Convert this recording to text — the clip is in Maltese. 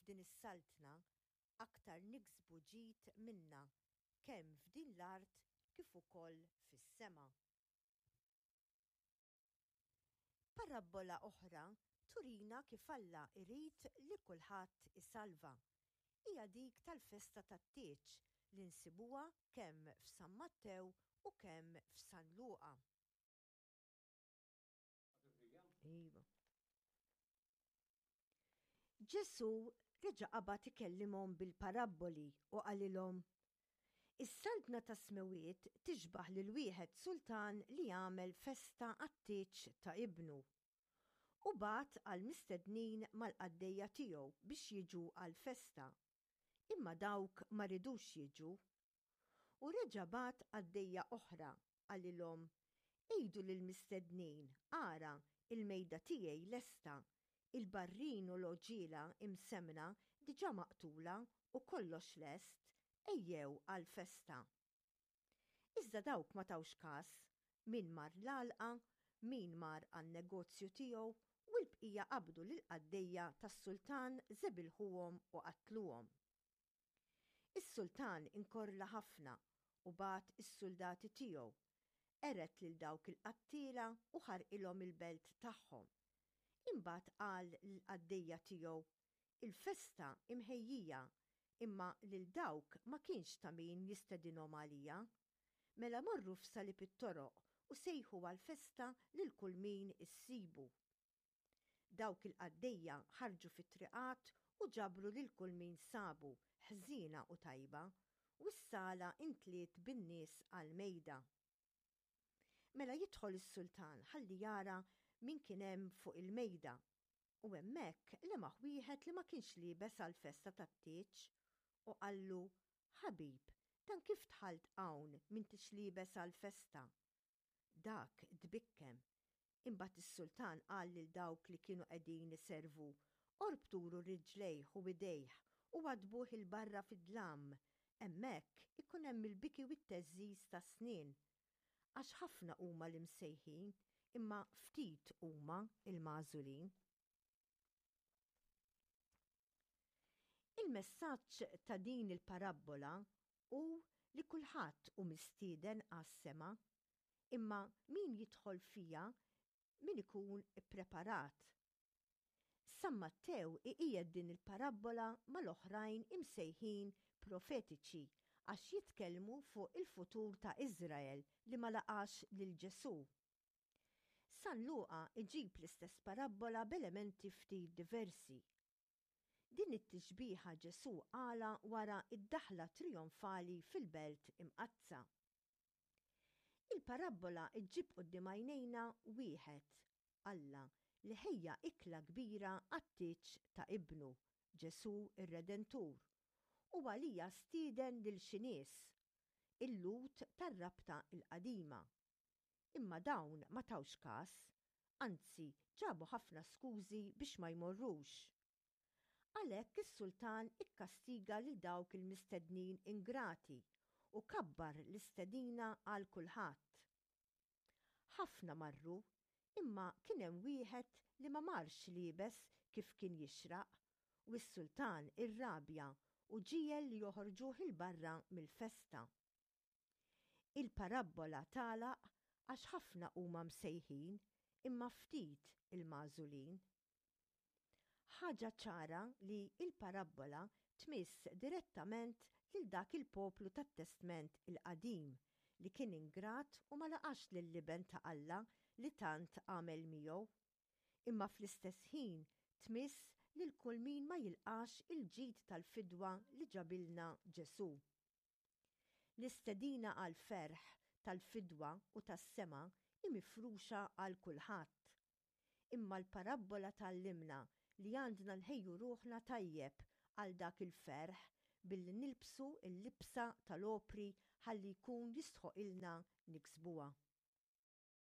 f'din is-saltna, aktar niksbu ġid minnha kemm f'din l-art kif ukoll fis-sema. Parabbola oħra turina kif Alla jrid li kulħadd isalva. Hija dik tal-festa tat-tieġ li nsibuha kemm f'San Mattew u kemm f'San Luqa. Iva. Ġesù reġa' qabad ikellimhom bil-parabboli u qalilhom, Is-Saltna tas-Smewwiet tixbah lil wieħed sultan li għamel festa għat-tieġ ta' ibnu. U bagħat għall-mistednin mal-qaddejja tiegħu biex jiġu għall-festa, imma dawk ma ridux jiġu. U reġa' bagħat qaddejja oħra, qalilhom, 'Għidu lill-mistednin, Ara, il-mejda tiegħi lesta, il-barrin u l-għoġiela imsemmna diġà maqtula u kollox lest, ejjew għall-festa. Iżda dawk ma tawx kas, min mar l-għalqa, min mar għan-negozju tiegħu, u l-bqija qabdu lill-qaddejja tas-sultan żebilħuhom u qatluhom. Is-sultan inkorla ħafna u bagħat is-suldati tiegħu, qered lil dawk il-qattiela u ħarqilhom il-belt tagħhom. Imbagħad qal lill-qaddejja tiegħu, 'Il-festa hi mħejjija, imma lil dawk ma kienx ta' min jistedinhom għalija. Mela morru f'salib it-toroq u sejħu għall-festa lil kull min issibu. Dawk il-qaddejja ħarġu fit-triqat u ġabru lil kull min sabu, ħżiena u tajba, u s-sala intliet bin-nies għall-mejda. Mela jidħol is-sultan ħalli jara min kien hemm fuq il-mejda, u hemmhekk lemaħ wieħed li ma kienx liebes għall-festa tat-tieġ, u qallu, 'Ħabib, dan kif dħalt hawn m'intix liebes għall-festa? Dak tbikkem. Imbagħad is-sultan qal lil dawk li kienu qegħdin iservu, Orbtulu riġlejh u idejh u waddbuh 'il barra fid-dlam, hemmhekk ikun hemm il-biki u t-theżżiż tas-snien. Għax ħafna huma l-imsejħin, imma ftit huma l-magħżulin. Il-messaġġ ta' din il-parabbola hu li kulħadd hu mistieden għas-sema, imma min jidħol fiha min ikun ippreparat. San Mattew iqiegħed din il-parabbola mal-oħrajn imsejħin profetiċi għax jitkellmu fuq il-futur ta' Iżrael li ma laqax lil Ġesù. San Luqa jġib l-istess parabbola b'elementi ftit diversi. Din it-tixbiha Ġesù qalha wara d-daħla trijonfali fil-Belt Imqaddsa. Il-parabbola ġġib quddiem għajnejna wieħed, Alla, li ħejja ikla kbira għat-tieġ ta' Ibnu, Ġesù r-Redentur, u għaliha stieden lil xi nies, il-Lhud tar-Rabta l-Qadima. Imma dawn ma tawx kas, anzi ġabu ħafna skużi biex ma jmorrux. Għalhekk is-sultan ikkastiga lil dawk il-mistednin ingrati u kabbar l-istedina għal kulħadd. Ħafna marru, imma kien hemm wieħed li ma marx liebes kif kien jixraq, u s-sultan irrabja u ġiegħel li joħorġuh 'il barra mill-festa. Il-parabbola tagħlaq għax ħafna huma msejħin imma ftit il-magħżulin. Ħaġa ċara li l-parabbola tmiss direttament lil dak il-poplu tat-Testment il-Qadim li kien ingrat u ma laqax lill-Iben ta' Alla li tant għamel miegħu. Imma fl-istess ħin tmiss lil kull min ma jilqax il-ġid tal-fidwa li ġabilna Ġesù. L-istedina għall-ferħ tal-fidwa u tas-sema hi mifruxa għal kulħadd. Imma l-parabbola tgħallimna li għandna nħejju ruħna tajjeb għal dak il-ferħ billi nilbsu l-libsa tal-opri ħalli jkun jistħoqilna niksbuha.